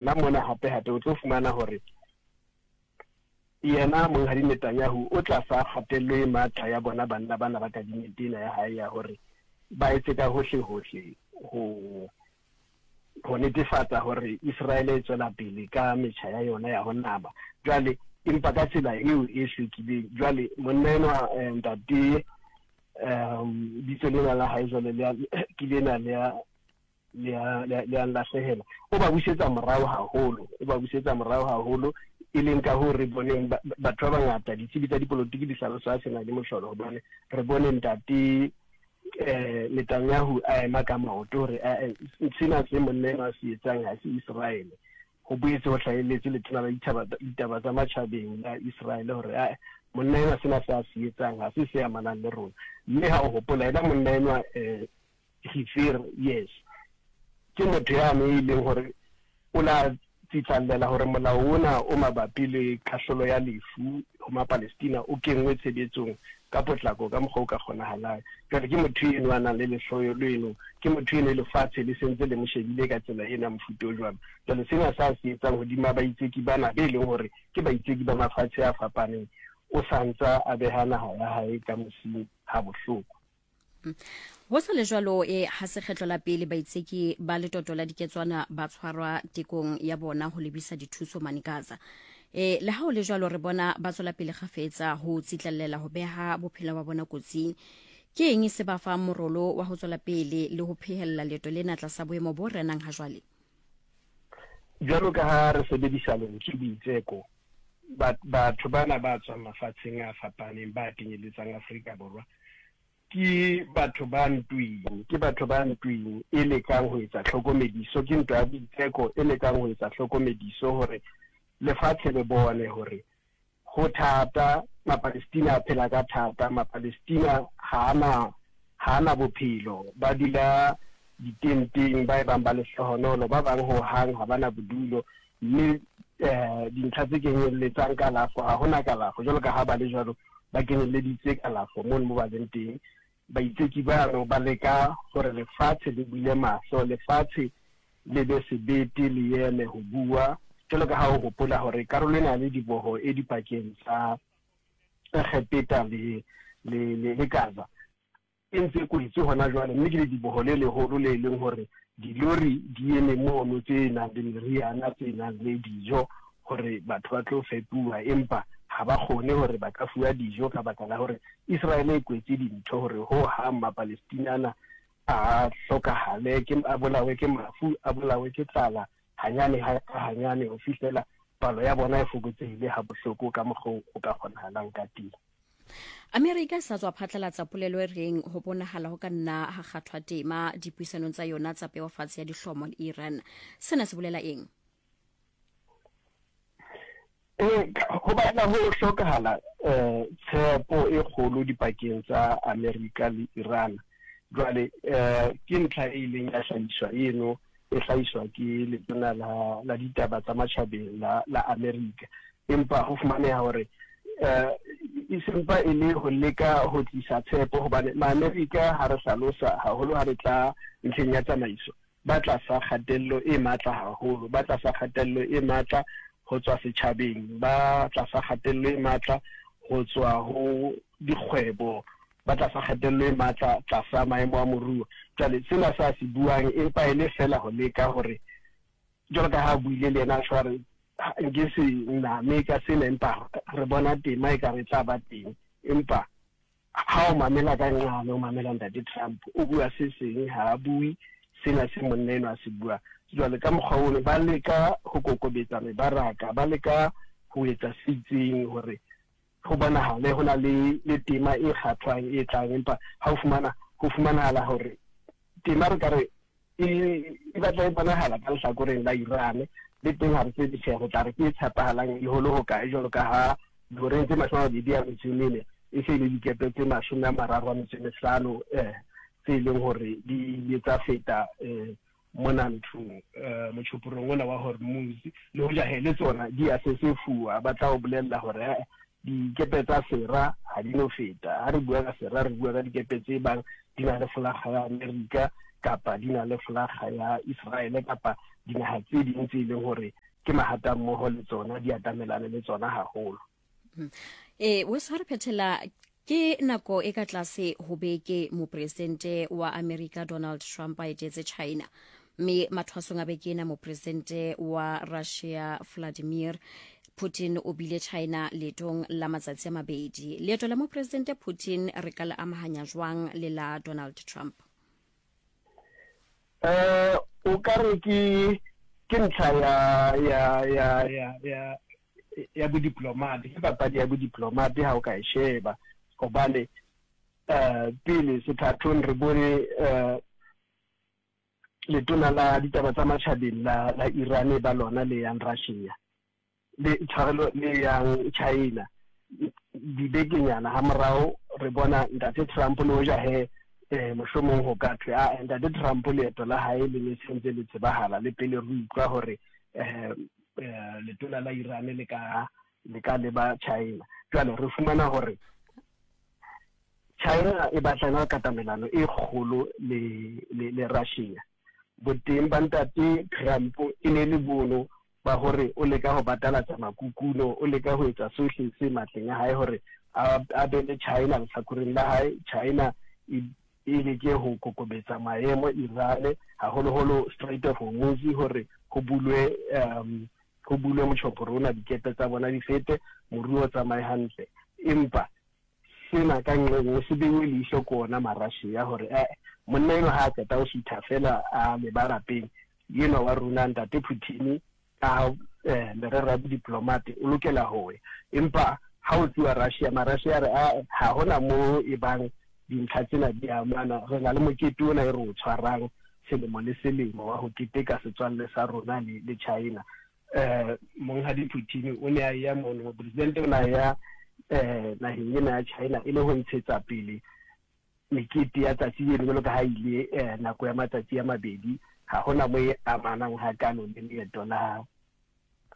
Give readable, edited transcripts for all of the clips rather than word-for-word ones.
Hona mona hape-hape o tlo fumana hore yena Monghadi Netanyahu o tlasa kgatello e matla ya bona banna bana ba kabinete ena ya hae ya hore ba etse ka hohle-hohle ho ho netefatsa hore Iseraele e tswela pele ka metjha ya yona ya ho nama. Jwale empa ka tsela eo e hlwekileng. Jwale monna enwa eh, ntate um bitso lena la hae jwale le ke lena le le a nlahlehela. O ba busetsa morao haholo, o ba busetsa morao haholo, e leng ka hoo re boneng batho ba bangata, ditsebi tsa dipolotiki di hlalosa sena le mohlolo, hobane re bone ntate eh Netanyahu a ema ka maoto hore eh, sena se monna enwa a se etsang ha se Iseraele. Ho boetse ho hlahelletse letona la ditaba tsa matjhabeng la Iseraele hore ae monna enwa sena se a se etsang ha se se amanang le rona. Mme ha o hopola ena monna enwa eh Gifir, yes. Ke motho yane e leng hore o la tsitlallela hore molao ona o mabapi le kahlolo ya lefu ho Mapalestina o kenngwe tshebetsong ka potlako ka mokgwa o ka kgonahalang. Jwale ke motho eno a nang le lehloyo leno, ke motho eno e lefatshe le sentse le mo shebile ka tsela ena mofuta o jwalo. Jwale sena sa se etsang hodima baitseki bana be leng hore ke baitseki ba mafatshe a fapaneng, o sa ntsa a beha naha ya hae ka mosing ha bohloko. Ho sa le jwalo, e ha se kgetlo la pele baitseki ba letoto la diketswana ba tshwarwa tekong ya bona ho lebisa dithuso mane Gaza. E, le ha ho le jwalo re bona ba tswela pele kgafetsa ho tsitlallela ho beha bophelo ba bona kotsing. Ke eng se ba fang morolo wa ho tswela pele le ho phehella leeto lena tlasa boemo bo renang ha jwale? Jwalo ka ha re sebedisa lentswe boitseko, batho bana ba tswang mafatsheng a fapaneng ba kenyeletsang Afrika Borwa ke batho ba ntweng, ke batho ba ntweng e lekang ho etsa tlhokomediso, ke ntwa ya boitseko e lekang ho etsa tlhokomediso hore lefatshe le bone hore ho thata, Mapalestina a phela ka thata, Mapalestina ha ana ha ana bophelo, ba dula ditenteng, ba e bang ba lehlohonolo, ba bang ho hang ha ba na bodulo, mme um dintlha tse kenyelletsang kalafo, ha hona kalafo, jwalo ka ha ba le jwalo, ba kenyelleditse kalafo mono mo ba leng teng. Baitseki bano ba leka hore lefatshe le bule mahlo, lefatshe le be sebete le eme ho bua, jwalo ka ha o hopola hore karolo ena ya lediboho e dipakeng tsa Egepeta le, le, le, le Gaza e ntse e kwetswe hona jwale, mme ke lediboho le leholo le leng hore dilori di eme mono tse nang le meriana, tse nang le dijo hore batho ba tlo fepuwa, empa ha ba kgone hore ba ka fuwa dijo ka baka la hore Iseraele e kwetse dintho hore ho hang Mapalestina ana a hlokahale, ke a bolawe ke mafu, a bolawe ke tlala hanyane ka hanyane ho fihlela palo ya bona e fokotsehile ha bohloko ka mokgwa o ka kgonahalang ka teng. Amerika e sa tswa phatlalatsa polelo e reng ho bonahala ho ka nna ha kgathwa tema dipuisanong tsa yona tsa peofatshe ya dihlomo le Iran. Sena se bolela eng? Ee, ho batla ho hlokahala um tshepo e kgolo dipakeng tsa Amerika le Iran. Jwale um ke ntlha e ileng ya hlahiswa eno, e hlahiswa ke letona la, la ditaba tsa matjhabeng la, la Amerika. Empa ho fumaneha hore um e sempa e le ho leka ho tlisa tshepo, hobane Maamerika ha re hlalosa haholo ha re tla ntlheng ya tsamaiso, ba tlasa kgatello e matla haholo, ba tlasa kgatello e matla ho tswa setjhabeng, ba tlasa kgatello e matla ho tswa ho dikgwebo, ba tlasa kgatello e matla tlasa maemo a moruo. Jwale sena se a se buang empa e le feela ho leka hore, jwalo ka ha a buile le yena a tjho a re, nke se name ka sena empa re bona tema e ka re tla ba teng. Empa Ha o mamela ka nqane, o mamela Ntate Trump, o bua se seng, ha a bue sena se monna enwa a se buang. Jwale ka mokgwa ono ba leka ho kokobetsa mebaraka, ba leka ho etsa se itseng hore ho bonahale ho na le, le tema e kgathwang e tlang, empa ha o fumana, ho fumanahala hore tema re ka re e, e batla e bonahala ka lehlakoreng la Iran, le teng ha re tsebe tjhe re tla re ke e tshepahalang e hole hokae, jwalo ka ha dihoreng tse 28 e se e le dikepe tse 35 tse e leng hore di ile tsa feta mona nthong motjhoporong ona wa Hormuz, le hoja he le tsona di a sesefuwa, ba tla o bolella hore eh, dikepe tsa sera ha di no feta. Ha re bua ka sera, re bua ka dikepe tse bang di na le folaga ya Amerika kapa di na le folaga ya Israele kapa dinaha tse ding tse e leng hore ke mahatammoho le tsona di atamelane le tsona haholo. E, weso ha re phethela ke nako e ka tlase ho beke mopresidente wa Amerika Donald Trump a etetse China mme mathwasong a beke ena mopresidente wa Russia Vladimir Putin o bile China leetong la matsatsi a mabedi. Leeto la mopresidente Putin re ka le amahanya jwang le la Donald Trump? Eh, o ka re ke ke ntlha ya ya ya ya ya ya bodiplomate, ke papadi ya bodiplomate ha o ka e sheba, hobane eh pele sethathong re bone eh letona la ditaba tsa matjhabeng la la Iran ba lona le yang Russia le tshwarelo le yang China dibekenyana ha morao re bona ntate Trump le hoja he eh mohlomong ho ka thwe a ntate Trump leeto la hae le ne sentse le tsebahala le pele re utlwa hore eh, eh letona la Iran le ka le ka leba China. Jwale re fumana hore China e batla katamelano e kgolo le le, le Russia. Boteng ba ntate Trump e ne le bono ba hore o leka ho batalatsa makukuno, o leka ho etsa sohle se matleng a hae hore a be le China lehlakoreng la hae. China e e leke ho kokobetsa maemo Iran, haholoholo Strait of Hormuz, hore ho bulwe um ho bulwe motjhoporo ona, dikepe tsa bona di fete, moruo o tsamaye hantle. Empa sena ka nqe nngwe se beuwe leihlo ke ona Marussia hore eh monna enwa ha a qeta ho sutha feela a leba lapeng, enwa wa rona ntate Putin ka eh, merero ya bodiplomate o lokela ho ya. Empa ha o tluwa Russia, Marussia a re ah ha hona moo e bang dintlha tsena di amana, re na le mokete ona e re o tshwarang selemo le selemo wa ho keteka setswalle sa rona le, le China. Eh, Monghadi Putin o ne a ya mono, mopresidente o ne a ya eh, naheng ena ya China e le ho ntshetsa pele mekete ya tsatsi leno jwalo ka ha ile eh, nako ya matsatsi a mabedi. Ha hona mo e amanang hakalo le leeto la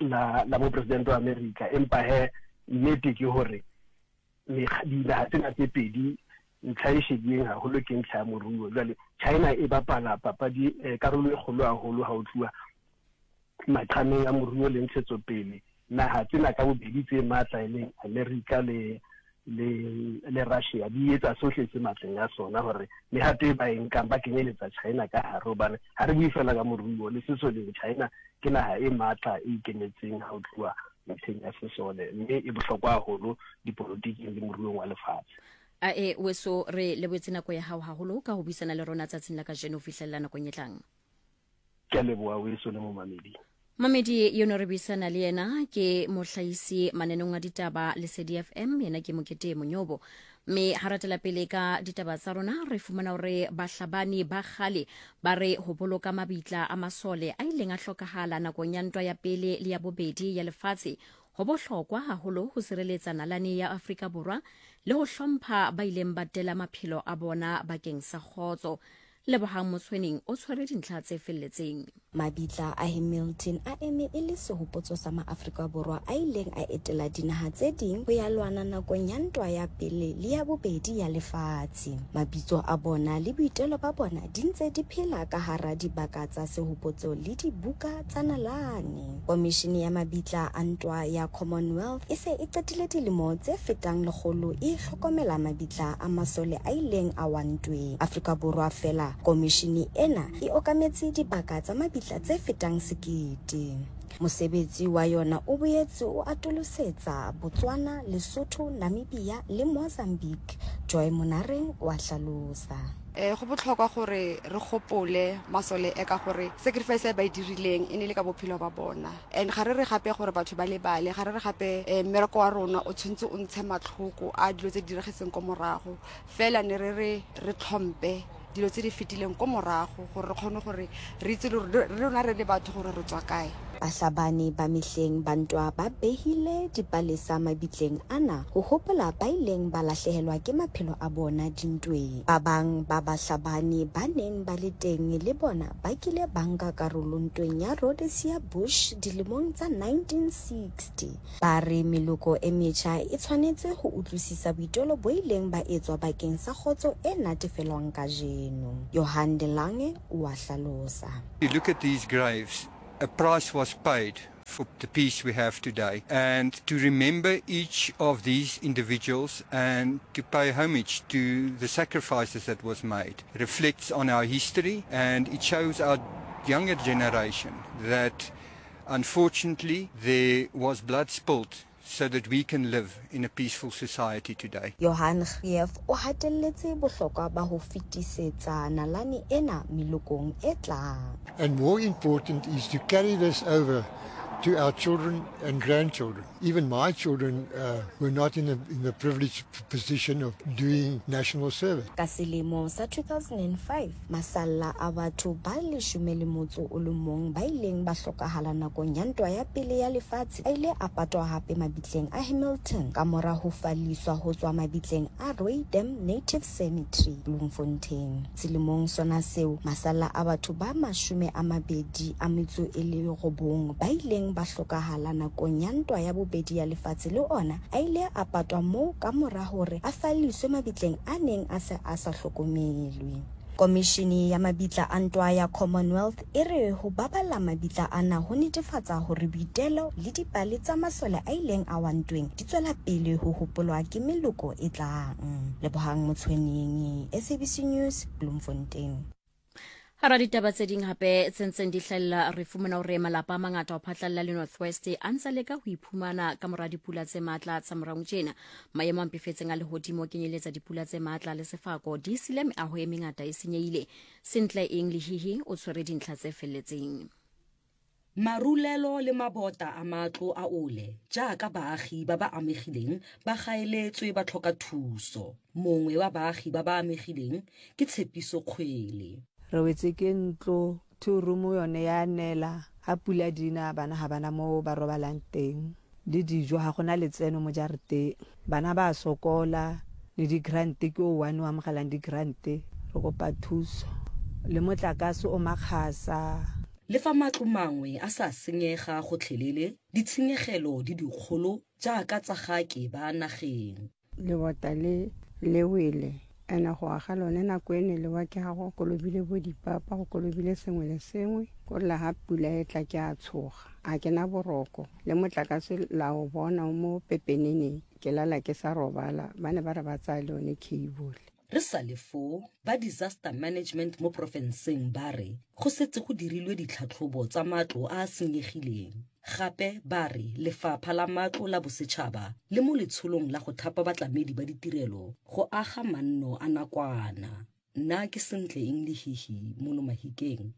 la la mopresidente wa Amerika. Empa he nnete ke hore dinaha tsena tse pedi ntlha e shebileng haholo ke ntlha ya moruo. Jwale China e bapala papadi eh, karolo e kgolo haholo ha o tluwa maqhameng a moruo le ntshetsopele. Naha tsena ka bobedi tse matla e leng America le le le Russia di etsa sohle se matleng a sona hore mehato e ba e nkang ba kenyeletsa China ka hare, hobane ha re bue fela ka moruo le sesoleng, China ke naha e matla e ikemetseng ha o tluwa ntlheng ya sesole, mme e bohlokwa haholo dipolotiking le moruong wa lefatshe. A e weso re leboetse nako ya hao haholo ka ho buisana le rona tsatsing la kajeno ho fihlella nakong e tlang. Ke a leboha weso le momamedi. Mamedi yo no re buisana le yena ke mohlahisi mananeng a ditaba Lesedi FM, yena ke Mokete Monyobo. Mme ha ratela pele ka ditaba tsa rona re fumana hore bahlabani ba kgale ba re ho boloka mabitla a masole a ileng a hlokahala nakong ya ntwa ya pele le ya bobedi ya lefatshe ho bohlokwa haholo ho sireletsa nalane ya Afrika Borwa le ho hlompha ba ileng ba tela maphelo a bona bakeng sa kgotso. Lebohang Motshweneng o tshwere dintlha tse felletseng. Mabitla a Hamilton a eme e le sehopotso sa maAfrika Borwa a ileng a etela dinaha tse ding ho ya lwana nakong ya Ntwa ya Pele le ya Bobedi ya Lefatshe. Mabitso a bona le boitelo ba bona di ntse di phela ka hara dibaka tsa sehopotso le dibuka tsa nalane. Komishene ya Mabitla a Ntwa ya Commonwealth e se e qetile dilemo tse fetang lekgolo e hlokomela mabitla a masole a ileng a wa ntweng. Afrika Borwa feela, komishene ena e okametse dibaka tsa mabitla tse fetang sekete. Mosebetsi wa yona o boetse o atolosetsa Botswana, Lesotho, Namibia le Mozambique, Joy Monareng o a hlalosa. Go botlhokwa gore re gopole masole e ka gore sacrifice e ba e dirileng e ne le ka bophelo ba bona. And ga re re gape gore batho ba lebale, ga re re gape mmereko wa rona o tshwanetse o ntshe matlhoko a dilo tse di diragetseng ko morago. Fela ne re re re tlhompe dilo tse di fetileng ko morago gore re kgone gore re itse le gore re rona re le batho gore re tswa kae. Bahlabani ba mehleng ba ntwa ba behile dipalesa mabitleng ana ho hopola ba ileng ba lahlehelwa ke maphelo a bona dintweng. Ba bang ba bahlabani ba neng ba le teng le bona ba kile ba nka karolo ntweng ya Rhodesia Bush dilemong tsa 1960. Ba re meloko e metjha e tshwanetse ho utlwisisa boitelo bo ileng ba etswa bakeng sa kgotso e natefelwang kajeno. Johan de Lange o a hlalosa. You look at these graves, A price was paid for the peace we have today. And to remember each of these individuals and to pay homage to the sacrifices that was made reflects on our history and it shows our younger generation that unfortunately there was blood spilt so that we can live in a peaceful society today. Johan Greeff o hatelletse bohlokwa ba ho fetisetsa nalane ena melokong e tlang. And more important is to carry this over to our children and grandchildren. Even my children uh, were not in the, in the privileged position of doing national service. Ka selemo sa 2005, masalla a batho ba leshome le motso o le mong ba ileng ba hlokahala nakong ya Ntwa ya Pele ya Lefatshe a ile a patwa hape mabitleng a Hamilton ka mora ho falliswa ho tswa mabitleng a Rooidam Native Cemetery, Bloemfontein. Selemong sona seo, masalla a batho ba 29 ba ileng ba hlokahala nakong ya Ntwa ya Bobedi ya Lefatshe le ona a ile a patwa moo ka mora hore a falliswe mabitleng a neng a se a sa hlokomelwe. Komishini ya Mabitla a Ntwa ya Commonwealth e re ho baballa mabitla ana ho netefatsa hore boitelo le dipale tsa masole a ileng a wa ntweng di tswela pele ho hopolwa ke meloko e tlang. Lebohang Motshweneng, SABC News, Bloemfontein. Hara ditaba tse ding hape tse ntseng di hlahella re fumana hore malapa a mangata ho phatlalla le Northwest a ntse leka ho iphumana ka mora dipula tse matla tsa morao tjena. Maemo a mpefetseng a lehodimo kenyeletsa dipula tse matla le sefako di sile meaho e mengata e senyehile. Sentle eng Lehihi o tshwere dintlha tse felletseng. Marulelo le mabota a matlo a ole jaaka baagi ba ba amegileng ba gaeletswe ba tlhoka thuso. Mongwe wa baagi ba ba amegileng ke Tshepiso Kgwele. Re wetse ke ntlo, two room yone ya nela, ha pula di na bana ga bana mo ba robalang teng, le dijo ga gona letseno mo jarateng. Bana ba sokola, le di-grant ke o one o amogelang di-grant, re kopa thuso. Le motlakase o makgasa. Le fa matlo mangwe a sa senyega gotlhelele, ditshenyegelo di dikgolo jaaka tsa ga ke ba nageng. Lebota le le wele ene go aga lone nako e ne lewa ke ga go kolobile bo dipapa go kolobile sengwe le sengwe ko lla ga pula e tla ke a tshoga a ke na boroko le motlakase la o bona mo pepeneneng ke lala ke sa robala ba ne ba re ba tsaya le one cable. Re sa le foo, ba Disaster Management mo porofenseng ba re go setse go dirilwe ditlhatlhobo tsa matlo a a senyegileng. Gape ba re Lefapha la Matlo la Bosetšhaba le mo letsholong la go thapa batlamedi ba ditirelo go aga manno a nakwana. Nna ke Sentle Eng Lehihi mono Mahikeng.